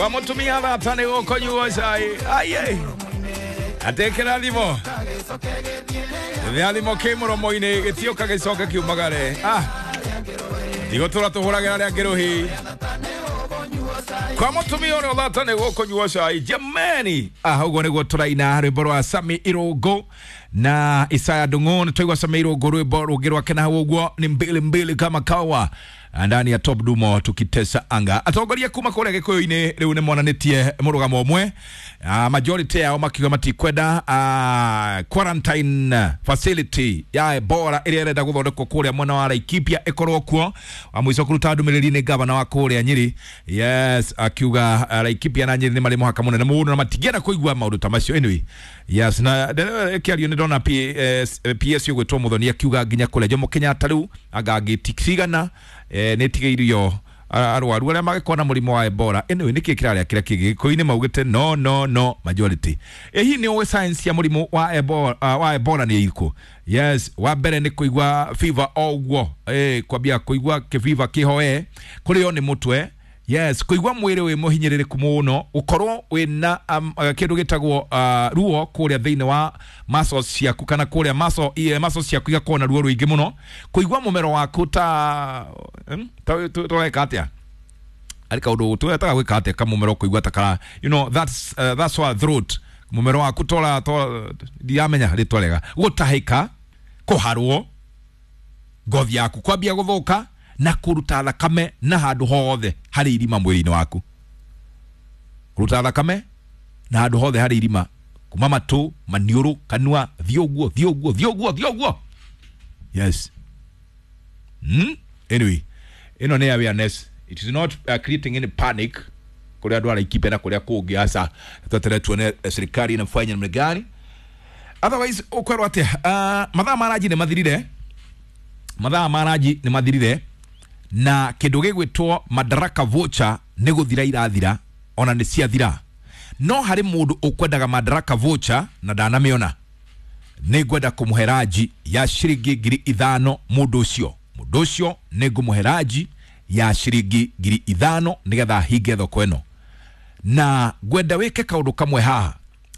Kwa mutumia thata nĩ gũkũnyuo cai. Ai atekera thimo rĩrĩa thimo kĩ mũromo-inĩ gĩtioka gĩcoke kiumagare. Ah, tigũtũra tũhũragĩra arĩa angĩ rũhi. Kwa mutumia ũrĩa ũthata nĩ gũkũnyuo cai jamani. Ah, ũguo nĩguo tũraina rwĩmbo rwa Sami Irũngũ na Isaya Ndung'u. Nĩ twaigua Sami Irũngũ rwĩmbo rũngĩ rwake na hau ũguo ni mbili mbili kama kawa ndani ya Top Dumo tukitesa anga. Atongoria kuma kũrĩa Gĩkũyũ-inĩ rĩu nĩ monanĩtie mũrũgamo ũmwe, majority yao makiuga matikwenda quarantine facility ya Ebola ĩrĩa ĩrenda gũthondekwo kũrĩa mwena wa Laikipia ĩkorwo kuo. Wa mũico kũruta ndũmĩrĩri nĩ gavana wa kũrĩa Nyĩrĩ, yes, akiuga Laikipia na Nyĩrĩ nĩ marĩ mũhaka mũnene mũno na matingĩenda kũigua maũndũ ta macio. Anyway, yes, na kĩario nĩ ndona PS ũgwĩtwo Muthoni akiuga nginya kũrĩa Jomo Kenyatta rĩu anga ngĩti cigana nĩ tigĩirio arwaru arĩa mangĩkorwo na mũrimũ wa Ebola. Anyway, nĩkĩ kĩrarĩa kĩrĩa kĩngĩ Gĩkũyũ-inĩ maugĩte no no no majority. Hihi nĩ ũĩ science ya mũrimũ wa Ebola, wa Ebola nĩ ĩrĩkũ? Yes, wa mbere nĩ kũigua fever o ũguo, kwambia kũigua kĩbiba kĩhoe, kũrĩo nĩ mũtwe. Yes, kũigua mwĩrĩ wĩ mũhinyĩrĩrĩku mũno, gũkorwo wĩna kĩndũ gĩtagwo ruo kũrĩa thĩinĩ wa muscles ciaku, kana kũrĩa muscles ciaku igakorwo na ruo rũingĩ mũno, kũigua mũmero waku ta tũreka atĩa, arĩ kaũndũ twetaga gwĩka atĩa kamũmero kũigua ta kara, you know, that's why throat, mũmero waku tora ndiramenya rĩtwa rĩega, gũtahĩka, kũharwo, ngothi yaku kwambia gũthũka na kũruta thakame na handũ hothe harĩ irima mwĩrĩ-inĩ waku, kũruta thakame na handũ hothe harĩ irima, kuma matũ, maniũrũ, kanua, thiĩ ũguo thiĩ ũguo thiĩ ũguo thiĩ ũguo. Yes. Anyway, ĩno nĩ awareness, it is not creating any panic kũrĩa andũ a Laikipia na kũrĩa kũngĩ. Aca tweterere tuone serikali inafanya namna gani, otherwise ũkwerwo atĩa? Mathaa ma ranji nĩ mathirire, mathaa ma ranji nĩ mathirire, na kĩndũ gĩgwĩtwo Madaraka voucher nĩ gũthira irathira, ona nĩ ciathira. No harĩ mũndũ ũkwendaga Madaraka voucher na ndanamĩona, nĩ ngwenda kũmũhe ranji ya ciringi 5,000. Mũndũ ũcio, mũndũ ũcio nĩ ngũmũhe ranji ya ciringi 5,000 nĩgetha hinge thoko ĩno. Na ngwenda wĩke kaũndũ kamwe haha,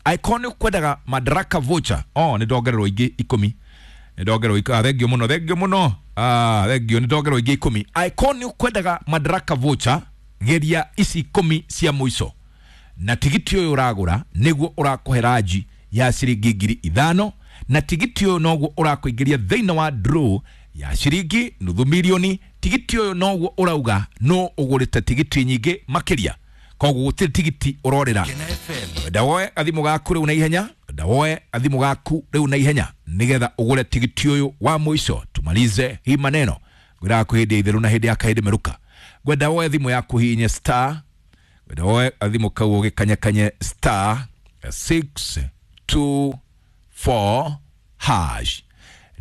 angĩkorwo nĩ ũkwendaga Madaraka voucher, oh, nĩ ndongererwo ingĩ 10, nĩ ndongererwo thengio mũno, thengio mũno, thengio, nĩ ndongererwo ingĩ 10. Angĩkorwo nĩ ũkwendaga Madaraka voucher, geria ici 10 cia mũico, na tigiti ũyũ ũragũra nĩguo ũrakũhe ranji ya ciringi 5,000, na tigiti ũyũ noguo ũrakũingĩria thĩinĩ wa draw ya ciringi 500,000. Tigiti ũyũ noguo ũrauga no ũgũrĩte tigiti nyingĩ makĩria, koguo gũtirĩ tigiti ũrorĩra. Wenda woe gathimũ gaku rĩu na ihenya, wenda woe gathimũ gaku rĩu na ihenya nĩgetha ũgũre tigiti ũyũ wa mũico, tumalize hii maneno. Ngwĩraga kwĩ hĩndĩ ya itherũ na hĩndĩ ya kahĩndĩ merũka. Ngwenda woe thimũ yaku hihinye star, ngwenda woe gathimũ kau ũgĩkanyakanye star 624 hash,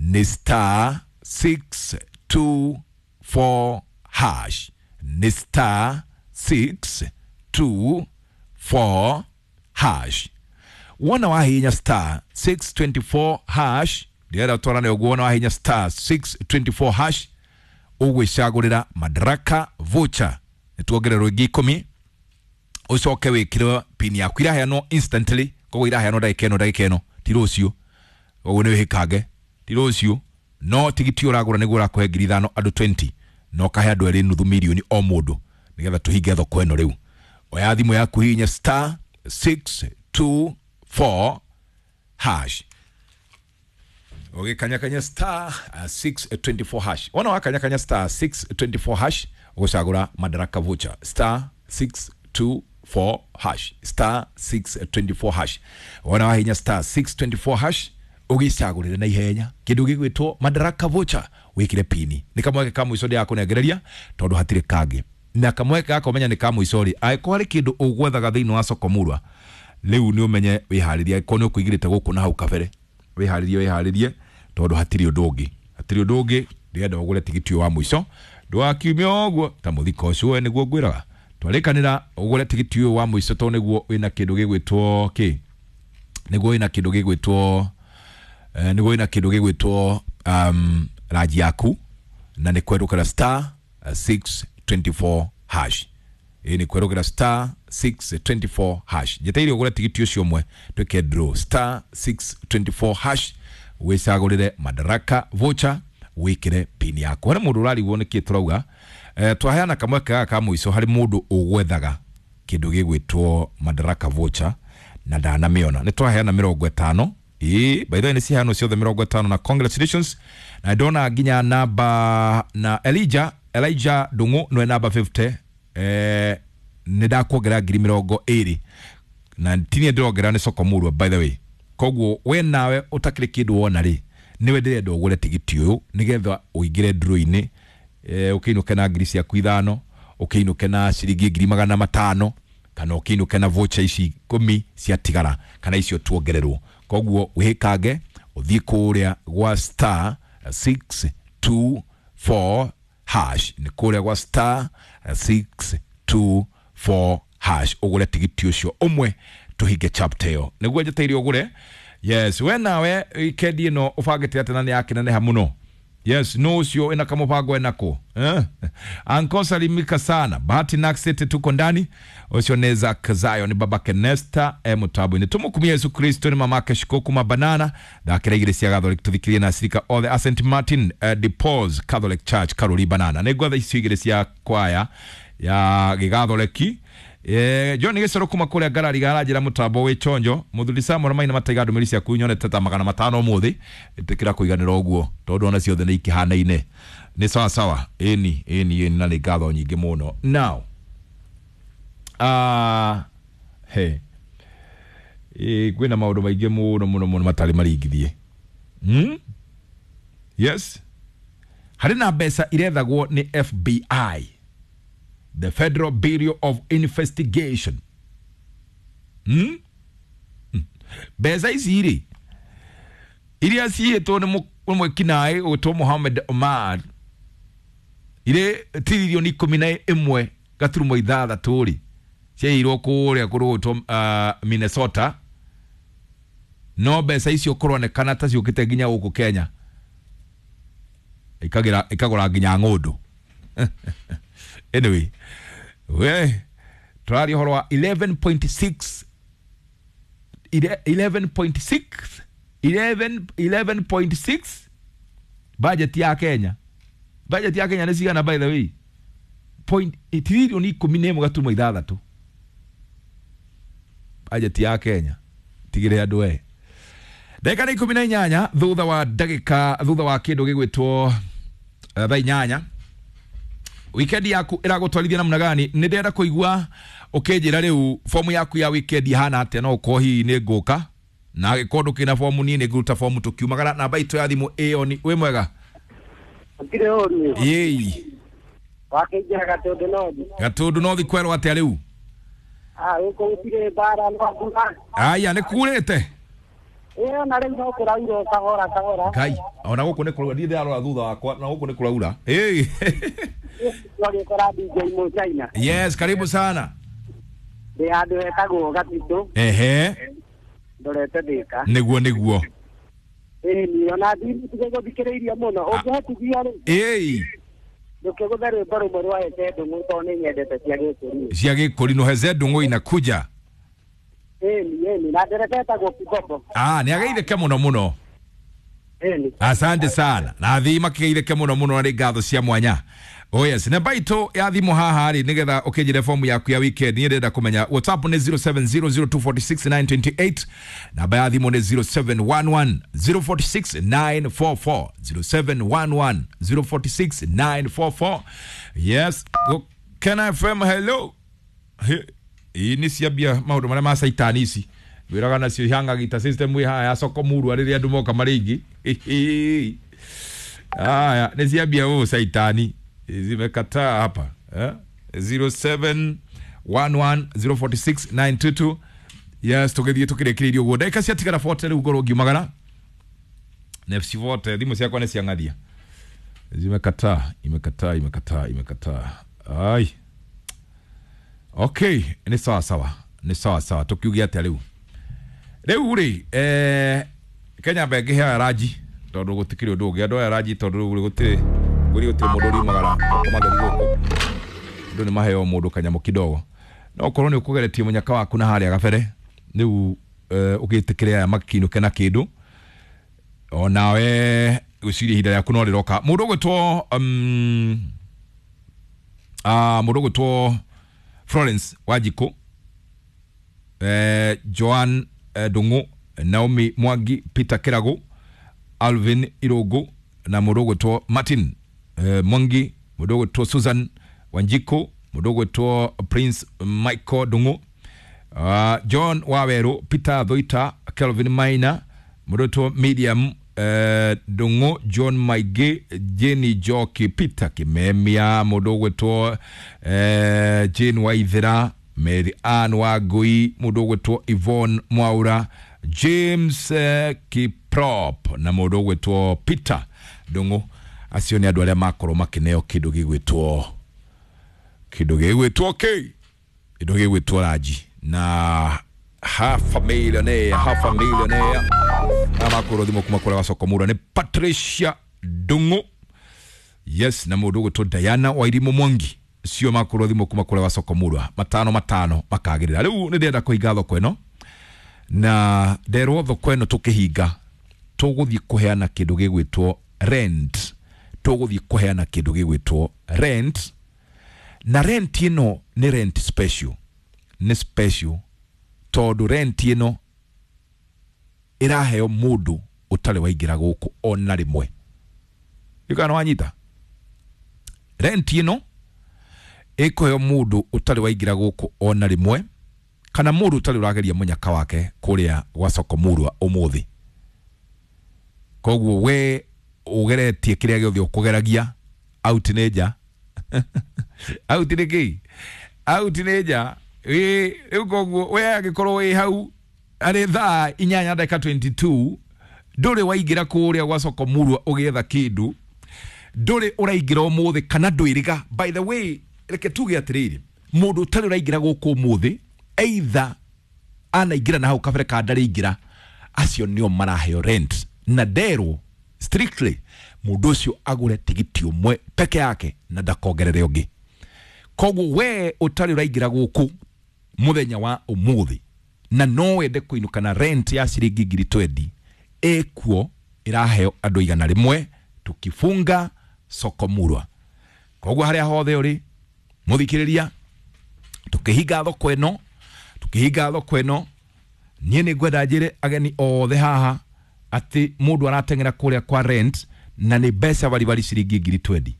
nĩ star 624 hash, nĩ star 624 hash. Wona wahihinya star 624 hash, ndĩrenda twarane ũguo. Wona wahihinya star 624 hash, ũgwĩcagũrĩra Madaraka voucher, nĩ tuongererwo ingĩ 10, ũcoke wĩkĩre pin yaku, iraheanwo instantly, koguo iraheanwo ndagĩka ĩno, ndagĩka ĩno, ti rũciũ, koguo nĩ wĩhĩkange, ti rũciũ. No tigiti ũragũra nĩguo ũrakũhe 5,000 andũ 20, na ũkahe andũ erĩ 500,000 o mũndũ, nĩgetha tũhinge thoko ĩno rĩu. Oya thimũ yaku hihinya star 624 hash, ũgĩkanyakanya star 624 hash. Wona wakanyakanya star 624 hash, ũgũcagũra Madaraka voucher, star 624 hash, star 624 hash. Wona wahinya star 624 hash, ũgĩcagũrĩre na ihenya kĩndũ gĩgwĩtwo Madaraka voucher, wĩkĩre pini. Nĩ kamweke ka mũico ndĩrakũnengereria tondũ hatirĩ kangĩ, na kamweke gaka ũmenya nĩ ka mũico rĩ, angĩkorwo harĩ kĩndũ ũgwethaga thĩinĩ wa soko murwa rĩu nĩ ũmenye wĩharĩrie, angĩkorwo nĩ ũkũigĩrĩte gũkũ na hau kabere, wĩharĩrie, wĩharĩrie, tondũ hatirĩ ũndũ ũngĩ, hatirĩ ũndũ ũngĩ. Ndĩrenda ũgũre tigiti ũyũ wa mũico, ndũgakiume ũguo ta mũthiko ũcio we nĩguo ngwĩraga. Twarĩkanĩra ũgũre tigiti ũyũ wa mũico tondũ nĩguo wĩna kĩndũ gĩgwĩtwo kĩ, nĩguo wĩna kĩndũ gĩgwĩtwo nĩguo wĩna kĩndũ gĩgwĩtwo ranji yaku, na nĩ kwerũkĩra star 624 hash. Ĩ nĩ kwerũgĩra star 624 hash. Njeteire ũgũre tigiti ũcio ũmwe twĩke draw star 624 hash, wĩcagũrĩre Madaraka voucher, wĩkĩre pin yaku. Harĩ mũndũ ũrarigwo nĩkĩ tũrauga, twaheana kamweke gaka ka mũico harĩ mũndũ ũgwethaga kĩndũ gĩgwĩtwo Madaraka voucher na ndanamĩona. Nĩ twaheana 50. Ĩĩ, by the way nĩ ciheanwo ciothe 50 na congratulations. Na ndona nginya namba na Elijah Ndung'u nĩwe namba 50. Nĩ ndakuongerera 20,000 na tinie ndĩrongerera nĩ soko murwa by the way. Koguo we nawe ũtakĩrĩ kĩndũ wona rĩ, nĩwe ndĩrenda ũgũre tigiti ũyũ nĩgetha ũingĩre draw-inĩ, ũkĩinũke na ngiri ciaku 5, ũkĩinũke na ciringi 500,000, kana ũkĩinũke na voucher ici 10 ciatigara kana icio tuongererwo. Koguo wĩhĩkange ũthiĩ kũrĩa gwa star 624 hash, nĩ kũrĩa gwa star 624 hash ũgũre tigiti ũcio ũmwe tũhinge chapter ĩyo. Nĩguo njeteire ũgũre. Yes, we nawe weekend ĩno ũbangĩte atĩ na nĩ yakĩneneha mũno. Yes, no ucio ina kamupango enako. Anko salimika sana. Bahati Naxete tuko ndani. Ucio neza kazayo ni babake Nesta mutabu. Ni tumukumia Yesu Kristo ni mamake Shikoku mabanana. Dakira igire cia Catholic tuthikirie na sirika othe a St Martin de Paul's Catholic Church Karuri Banana. Nĩ icio igire cia kwaya ya gĩgatholeki. John Gĩcoro kuma kũrĩa ngarari garanjĩra mũtambo wĩ chonjo. Mũthuri Samuel Maina mataiga ndũmĩrĩri ciaku nyonete ta 500 ũmũthĩ. Ĩtĩkĩra kũiganĩra ũguo tondũ ona ciothe nĩ ikĩhanaine. Nĩ sawa sawa. Ĩni ĩni ĩni na nĩ ngatho nyingĩ mũno. Now he kwĩna maũndũ maingĩ mũno mũno mũno matarĩ maringithie. Yes, harĩ na mbeca irethagwo nĩ FBI, the Federal Bureau of Investigation. Mbeca ici rĩ iria ciĩtwo nĩ mwĩkinaĩ ũgwĩtwo Mohamed Omar irĩ tiririoni 11.6 rĩ ciairwo kũrĩa kũrũgwĩtwo Minnesota. No mbeca icio kũronekana ta ciũkĩte nginya gũkũ Kenya, ikagũra nginya ng'ũndũ. Anyway, we tũraria ũhoro wa 11.6 11.6 11.6 budget ya Kenya. Budget ya Kenya nĩ cigana by the way? Point tiririoni 11.6 budget ya Kenya. Tigire andũ we. Ndagĩka nĩ 18 thutha wa ndagĩka thutha wa kĩndũ gĩgwĩtwo thaa 8. Weekend yaku ĩragũtwarithia namna gani? Nĩ ndĩrenda kũigua ũkĩnjĩra rĩu fomu yaku ya weekend ihana atĩa. No ũkorwo hihi nĩ ngũka na angĩkorwo ndũkĩna fomu niĩ nĩ ngũruta fomu tũkiumagara. Namba itũ ya thimũ ĩyo nĩ wĩ mwega? Gũtirĩ ũru. Ĩĩ. Wakĩingĩra Gatũndũ North. Gatũndũ North kwerwo atĩa rĩu? Gũkũ gũtirĩ mbara no mbura. Aya nĩ kurĩte? Ĩĩ ona rĩu no kũraura kahora kahora. Ngai, ona gũkũ nĩ kũraura, ndiĩ ndĩrarora thutha wakwa na gũkũ nĩ kũraura. Ĩĩ. Twagĩkora DJ Mũchaina. Yes, karibu sana. Ndĩ handũ hetagwo Gatitũ. Ehe. Ndorete Thĩka. Nĩguo nĩguo. Ĩĩ ni ona ndigũtige gũthikĩrĩirio mũno. Ũngĩhotithia rĩ. Ĩĩ. Ndũkĩgũthe rwĩmbo rũmwe rwa Heze Ndung'u tondũ nĩ nyendete cia Gĩkũrinũ. Cia Gĩkũrinũ Heze Ndung'u inakuja. Ĩni ĩni na ndereba etagwo Kibombo. Nĩ ageithĩke mũno mũno. Ĩni. Asante sana. Na athii makĩgeithĩke mũno mũno na nĩ ngatho cia mwanya. Oh yes, namba itũ ya thimũ haha rĩ nĩgetha ũkĩnjĩre fomu yaku ya weekend. Niĩ ndĩrenda kũmenya WhatsApp nĩ 0700246928, namba ya thimũ nĩ 0711046944, 0711046944. Yes, Kena FM, hello. Ii nĩ ciambia maũndũ marĩa ma caitani ici wĩraga nacio ihangagita system ĩ haha ya soko murwa rĩrĩa andũ moka marĩ aingĩ. Aya nĩ ciambia ũũ caitani zimekataa hapa. 0711046922. Yes, tũgĩthiĩ tũkĩrĩkĩrĩirie ũguo ndagĩka ciatigara 40 rĩu ngorwo ngiumagara. Nefsi vote thimũ ciakwa nĩ ciang'athia, zimekataa, imekataa, imekataa, imekataa. Ai, okay, nĩ sawa sawa, nĩ sawa sawa. Tũkiuge atĩa rĩu? Rĩu rĩ Kenya mbengĩhe ranji tondũ gũtikĩrĩ ũndũ ũngĩ. Andũ aya ranji tondũ rĩu gũtirĩ gũtirĩ mũndũ ũriumagara gũkoma theri gũkũ. Andũ nĩ maheo mũndũ kanyamũ kidogo. No korwo nĩ ũkũgeretie mũnyaka waku na harĩa gabere rĩu ũgĩtĩkĩre aya makinũke na kĩndũ onawe gwĩciria ihinda rĩaku no rĩroka. Mũndũ ũgwĩtwo mũndũ ũgwĩtwo Florence Wanjikũ, Joan Ndung'u, Naomi Mwangi, Peter Kĩragũ, Alvin Irũngũ na mũndũ ũgwĩtwo Martin Mwangi, mũndũ ũgwĩtwo Susan Wanjikũ, mũndũ ũgwĩtwo Prince Michael Ndung'u, John Wawerũ, Peter Thoita, Kelvin Maina, mũndũ ũgwĩtwo Miriam Ndung'u, John Maingĩ, Jenny Njoki, Peter Kimemia, mũndũ ũgwĩtwo Jane Waithera, Mary Ann Wangui, mũndũ ũgwĩtwo Yvonne Mwaura, James Kiprop na mũndũ ũgwĩtwo Peter Ndung'u. Acio nĩ andũ arĩa makorwo makĩneo kĩndũ gĩgwĩtwo kĩ kĩndũ gĩgwĩtwo ranji na half a millionaire, half a millionaire na makorwo thimũ kuma kũrĩa gacoko mũra nĩ Patricia Ndung'u, yes, na mũndũ ũgwĩtwo Diana Wairimũ Mwangi. Cio makorwo thimũ kuma kũrĩa gacoko mũra matano matano makagĩrĩra. Rĩu nĩ ndĩrenda kũhinga thoko ĩno na nderwo thoko ĩno tũkĩhinga tũgũthiĩ kũheana kĩndũ gĩgwĩtwo rent, tũgũthiĩ kũheana kĩndũ gĩgwĩtwo rent, na rent ĩno nĩ rent special, nĩ special tondũ rent ĩno ĩraheo mũndũ ũtarĩ waingĩra gũkũ ona rĩmwe. Kana wanyita, rent ĩno ĩkũheo mũndũ ũtarĩ waingĩra gũkũ ona rĩmwe kana mũndũ ũtarĩ ũrageria mũnyaka wake kũrĩa gwa soko murwa ũmũthĩ. Koguo we ũgeretie kĩrĩa gĩothe ũkũgeragia out nĩ nja out nĩ kĩ out nĩ nja. Rĩu koguo we angĩkorwo wĩ hau arĩ thaa 8:22 ndũrĩ waingĩra kũrĩa gwa soko murwa ũgĩetha kĩndũ, ndũrĩ ũraingĩra ũmũthĩ kana ndwĩrĩga. By the way, reke tuge atĩrĩrĩ, mũndũ ũtarĩ ũraingĩra gũkũ ũmũthĩ either anaingĩra na hau kabere ka ndarĩingĩra, acio nĩo maraheo rent na nderwo strictly mũndũ ũcio agũre tigiti ũmwe peke yake na ndakongerere ũngĩ. Koguo we ũtarĩ ũraingĩra gũkũ mũthenya wa ũmũthĩ na no wende kũinũka na rent ya ciringi ngiri 20 ĩkuo ĩraheo andũ 100 tukifunga soko murwa. Koguo harĩa hothe ũrĩ mũthikĩrĩria, tukihinga thoko ĩno, tukihinga thoko ĩno, niĩ nĩ ngwenda njĩre ageni othe haha atĩ mũndũ arateng'era kũrĩa kwa rent na nĩ mbeca baribari ciringi ngiri 20.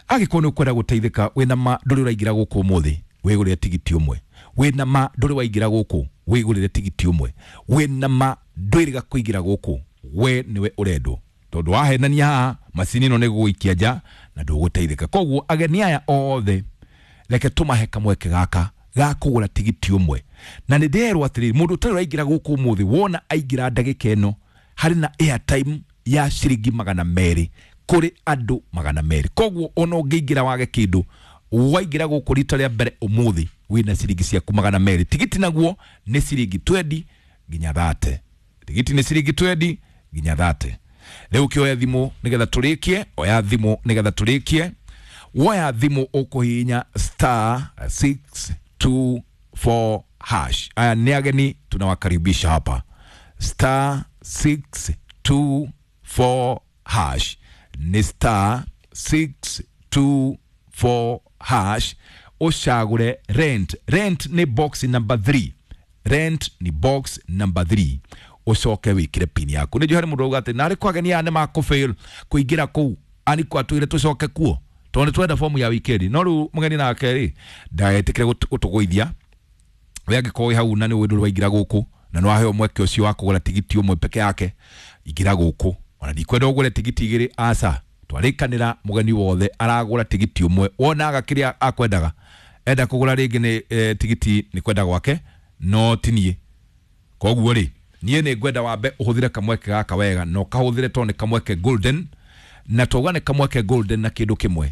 Angĩkorwo nĩ ũkwenda gũteithĩka wĩna ma ndũrĩ ũraingĩra gũkũ ũmũthĩ, wĩgũrĩre tigiti ũmwe. Wĩna ma ndũrĩ waingĩra gũkũ, wĩgũrĩre tigiti ũmwe. Wĩna ma ndwĩrĩga kũingĩra gũkũ, we nĩwe ũrendwo tondũ wahenania haha macini ĩno nĩ gũgũikia nja na ndũgũteithĩka. Koguo ageni aya othe reke tũmahe kamweke gaka ga kũgũra tigiti ũmwe. Na nĩ nderwo atĩrĩrĩ, mũndũ ũtarĩ ũraingĩra gũkũ ũmũthĩ wona aingĩra ndagĩka ĩno harĩ na airtime ya ciringi 200 kũrĩ andũ 200. Koguo ona ũngĩingĩra wage kĩndũ, waingĩra gũkũ rita rĩa mbere ũmũthĩ wĩna ciringi ciaku 200. Tigiti naguo nĩ ciringi 20 nginya 30. Tigiti nĩ ciringi 20 nginya 30. Rĩu ũkĩoya thimũ nĩgetha tũrĩkie, oya thimũ nĩgetha tũrĩkie. Woya thimũ ũkũhihinya star 624 hash. Aya nĩ ageni tunawakaribisha hapa. Star 624 hash ni star 624 hash ũcagũre rent. Rent ni box number 3. Rent ni box number 3. Ũcoke wĩkĩre pin yaku. Nĩ njũĩ harĩ mũndũ auga atĩ narĩ kwa ageni aya nĩ makũfail kũingĩra kũu ani kwatwĩre tũcoke kuo tondũ nĩ twenda fomu ya wikendi. No rĩu mũgeni nake rĩ ndagetĩkĩre gũtũgũithia. We angĩkorwo wĩ hau na nĩ ũĩ ndũrĩ waingĩra gũkũ na nĩ waheo mweke ũcio wa kũgũra tigiti ũmwe peke yake, ingĩra gũkũ. Ona ndikwenda ũgũre tigiti igĩrĩ, aca twarĩkanĩra mũgeni wothe aragũra tigiti ũmwe wonaga kĩrĩa akwendaga. Enda kũgũra rĩngĩ nĩ tigiti nĩ kwenda gwake no ti niĩ. Koguo rĩ niĩ nĩ ngwenda wambe ũhũthĩre kamweke gaka wega na ũkahũthĩre tondũ nĩ kamweke golden, na twauga nĩ kamweke golden na kĩndũ kĩmwe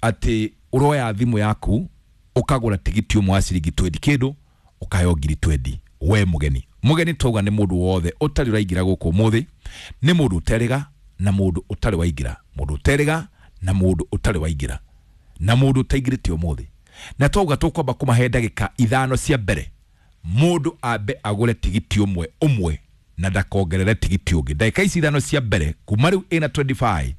atĩ ũroya thimũ yaku ũkagũra tigiti ũmwe wa ciringi 20 kĩndũ ũkaheo ngiri 20 we mũgeni. Mũgeni twauga nĩ mũndũ wothe ũtarĩ ũraingĩra gũkũ ũmũthĩ, nĩ mũndũ ũterĩga na mũndũ ũtarĩ waingĩra, mũndũ ũterĩga na mũndũ ũtarĩ waingĩra. Na mũndũ ũtaingĩrĩte ũmũthĩ na twauga tũkwamba kũmahe ndagĩka 5 cia mbere, mũndũ ambe agũre tigiti ũmwe ũmwe na ndakongerere tigiti ũngĩ. Ndagĩka ici 5 cia mbere kuma rĩu ĩna 25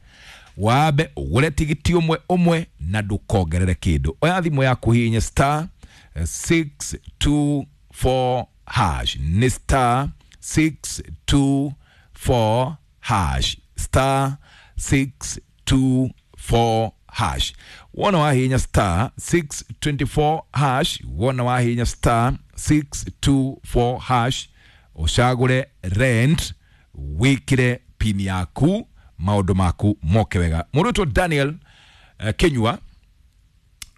wambe ũgũre tigiti ũmwe ũmwe na ndũkongerere kĩndũ. Oya thimũ yaku hihinya star 624 hash, nĩ star 624 hash, star 624 hash. Wona wahihinya star 624 hash, wona wahihinya star 624 hash, ũcagũre rent, wĩkĩre pin yaku, maũndũ maku moke wega. Mũndũ wĩtwo Daniel Kenyua,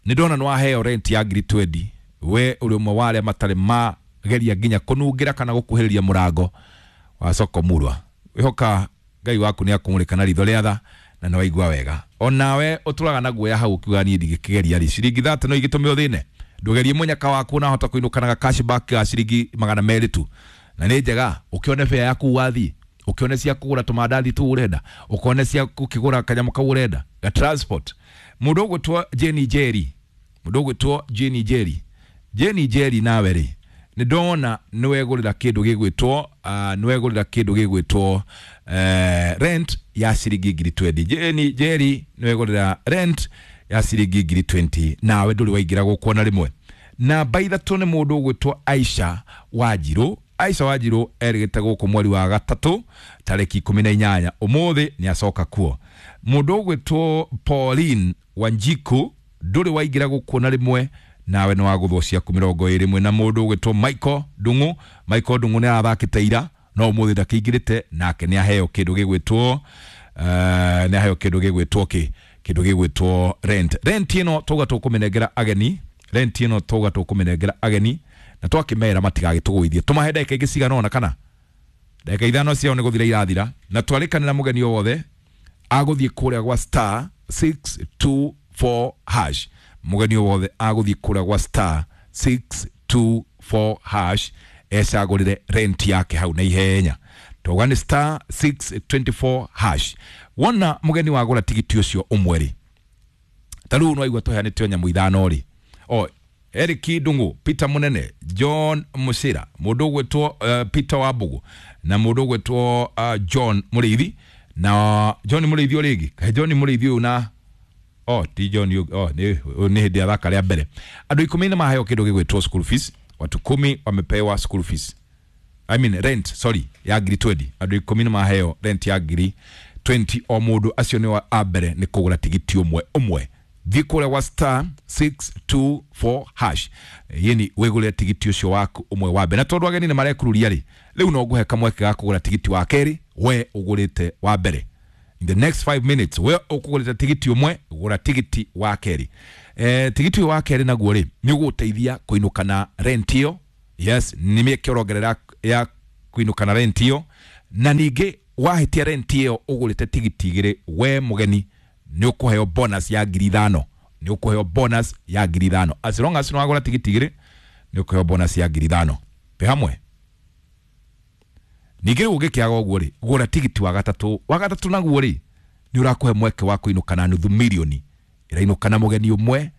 nĩ ndona nĩ waheo rent ya ngiri 20. We ũrĩ ũmwe wa arĩa matarĩ mageria nginya kũnungĩra kana gũkuhĩrĩria mũrango wa soko murwa. Wĩhoka Ngai waku nĩ akũmũrĩka na ritho rĩa tha na nĩ waigua wega. Onawe ũtũraga na guoya hau ũkiuga niĩ ndingĩkĩgeria rĩ, ciringi 30 no igĩtũme ũthĩne. Ndũgerie mũnyaka waku na hota kũinũka na cashback ga ciringi 200 tu, na nĩ njega. Ũkĩone fare yaku wathiĩ, ũkĩone cia kũgũra tũmandathi tũu ũrenda, ũkone cia gũkĩgũra kanyamũ kau ũrenda ga transport. Mũndũ ũgwĩtwo Jenny Jerry, mũndũ ũgwĩtwo Jenny Jerry, Jenny Jerry, nawe rĩ nĩ ndona nĩ wegũrĩra kĩndũ gĩgwĩtwo nĩ wegũrĩra kĩndũ gĩgwĩtwo rent ya ciringi ngiri 20. Jenny Jerry nĩ wegũrĩra rent ya ciringi ngiri 20, nawe ndũrĩ waingĩra gũkũ ona rĩmwe. Namba 3 nĩ mũndũ ũgwĩtwo Aisha Wanjirũ. Aisha Wanjirũ erĩgĩte gũkũ mweri wa 3 tarĩki 18, ũmũthĩ nĩ acoka kuo. Mũndũ ũgwĩtwo Pauline Wanjiku ndũrĩ waingĩra gũkũ na rĩmwe, nawe nĩ wagũthwo ciaku 21. Na mũndũ ũgwĩtwo Michael Ndung'u, Michael Ndung'u nĩ arathakĩte ira no ũmũthĩ ndakĩingĩrĩte, nake nĩ aheo kĩndũ gĩgwĩtwo nĩ aheo kĩndũ gĩgwĩtwo kĩ kĩndũ gĩgwĩtwo rent. Rent ĩno twauga tũkũmĩnengera ageni, rent ĩno twauga tũkũmĩnengera ageni na twakĩmera matigagĩtũgũithie, tũmahe ndagĩka ingĩ cigana ũna kana ndagĩka 5 ciao nĩ gũthira irathira, na twarĩkanĩra mũgeni o wothe agũthiĩ kũrĩa gwa star 624 hash. Mũgeni o wothe agũthiĩ kũrĩa gwa star 624 hash ecagũrĩre rent yake hau na ihenya. Twauga nĩ star 624 hash. Wona mũgeni wagũra tigiti ũcio ũmwe rĩ, ta rĩu no aigua tũheanĩte o nyamũ 5 rĩ, o Eric Ndung'u, Peter Munene, John Musira, mũndũ ũgwĩtwo Peter Wambugu na mũndũ ũgwĩtwo John Mũrĩithi. Na John Mũrĩithi o rĩngĩ, kaĩ John Mũrĩithi ũyũ na ti John nĩ hĩndĩ athaka rĩa mbere. Andũ 10 nĩ maheo kĩndũ gĩgwĩtwo school fees. Watu 10 wamepewa school fees, I mean rent, sorry, ya ngiri 20. Andũ 10 nĩ maheo rent ya ngiri 20 o mũndũ. Acio nĩ a mbere nĩ kũgũra tigiti ũmwe ũmwe. Thiĩ kũrĩa gwa star 624 hash, yeni wĩgũrĩre tigiti ũcio waku ũmwe wa mbere. Na tondũ ageni nĩ marekururia rĩ, rĩu no ngũhe kamweke ga kũgũra tigiti wa kerĩ we ũgũrĩte wa mbere. In the next 5 minutes we ũkũgũrĩte tigiti ũmwe, gũra tigiti wa kerĩ. Tigiti wa kerĩ naguo rĩ nĩ ũgũteithia kũinũka na rent ĩyo. Yes, nĩ mĩeke ũrongerera ya kũinũka na rent ĩyo. Na ningĩ wahĩtia rent ĩyo ũgũrĩte tigiti 2, we mũgeni nĩ ũkũheo bonus ya ngiri 5. Nĩ ũkũheo bonus ya ngiri 5. As long as nĩ wagũra tigiti 2 nĩ ũkũheo bonus ya ngiri 5. Twĩ hamwe. Ningĩ rĩu ũngĩkĩaga ũguo rĩ, gũra tigiti wa gatatũ. Wa gatatũ naguo rĩ nĩ ũrakũhe mweke wa kũinũka na nuthu mirioni ĩrainũka na mũgeni ũmwe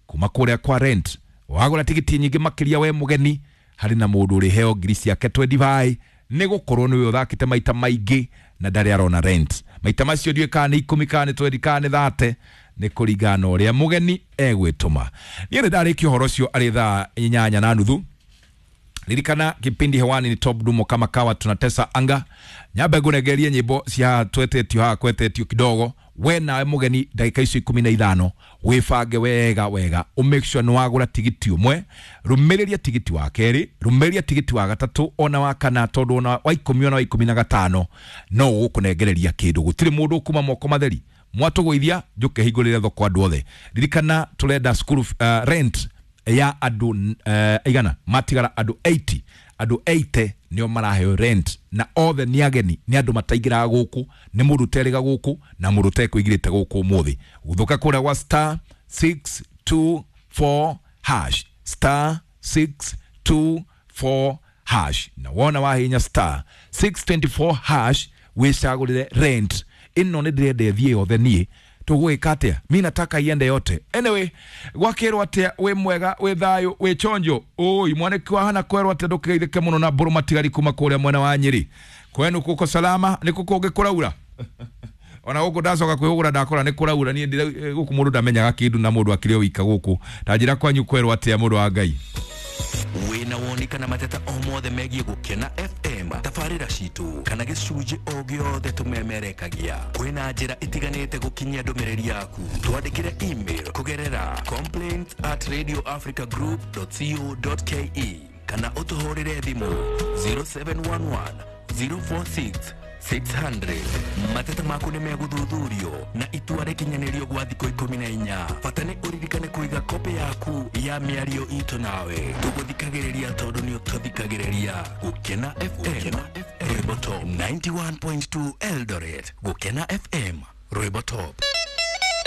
kuma kũrĩa kwa rent. Wagũra tigiti nyingĩ makĩria we mũgeni, harĩ na mũndũ ũrĩheo ngiri ciake 25 nĩ gũkorwo nĩwe ũthakĩte maita maingĩ na ndarĩ arona rent. Maita macio ndiũĩ kana nĩ 10 kana nĩ 20 kana nĩ 30, nĩ kũringana na ũrĩa mũgeni egwĩtũma. Niĩ nĩ ndarĩkia ũhoro ũcio arĩ thaa 8:30. Ririkana kipindi hewani ni Top Dumo kama kawa, tunatesa anga. Nyambe nguregerie nyimbo cia twetetio haha kwetetio kidogo. We nawe mũgeni ndagĩka icio 15 wĩbange wega wega, ũ make sure nĩ wagũra tigiti ũmwe, rũmĩrĩria tigiti wa kerĩ, rũmĩrĩria tigiti wa gatatũ ona wa kana, tondũ ona wa 10 ona wa 15 no ũgũkũnengereria kĩndũ. Gũtirĩ mũndũ ũkuma moko matheri. Mwatũgũithia njũke hingũrĩre thoko andũ othe. Ririkana tũrenda school rent ya andũ igana, matigara andũ 80. Andũ 80 nĩo maraheo rent, na othe nĩ ageni, nĩ andũ mataingĩraga gũkũ, nĩ mũndũ ũterĩga gũkũ na mũndũ ũtekũingĩrĩte gũkũ ũmũthĩ. Gũthũka kũrĩa gwa star 624 hash, star 624 hash, na wona wahinya star 624 hash wĩcagũrĩre rent ĩno. Nĩ ndĩrenda ĩthiĩ yothe niĩ, Tũgwĩka atĩa? Mi nataka iende yote. Anyway, gwakĩrwo atĩa? Wĩ mwega, wĩ thayũ, wĩ chonjo? Ũi mwanĩki wa hana kwerwo atĩa? Ndũkĩgeithĩke mũno na mbũrũ matigari kuma kũrĩa mwena wa Nyĩrĩ. Kwenu kuko salama? Nĩ kũngĩ kũraura? Ona gũkũ ndacoka kwĩhũgũra ndakora nĩ kũraura. Niĩ gũkũ mũndũ ndamenyaga kĩndũ na mũndũ akĩrĩ o wika gũkũ. Ta njĩra kwanyu kwerwo atĩa, mũndũ wa Ngai? Wĩna woni kana mateta o mothe megiĩ Gũkena FM, tabarĩra citũ kana gĩcunjĩ o gĩothe tũmemerekagia, kwĩna njĩra itiganĩte gũkinyia ndũmĩrĩri yaku. Twandĩkĩre email kũgerera complaints@radioafricagroup.co.ke kana ũtũhũrĩre thimũ 0711 046 600. Mateta maku nĩ megũthuthurio na itua rĩkinyanĩrio gwa thikũ 14. Bata nĩ ũririkane kũiga kopĩ yaku ya mĩario itũ nawe. Tũgũthikagĩrĩria tondũ nĩ ũtũthikagĩrĩria. Gũkena FM, rwĩmbo top. 91.2 Eldoret. Gũkena FM, rwĩmbo top.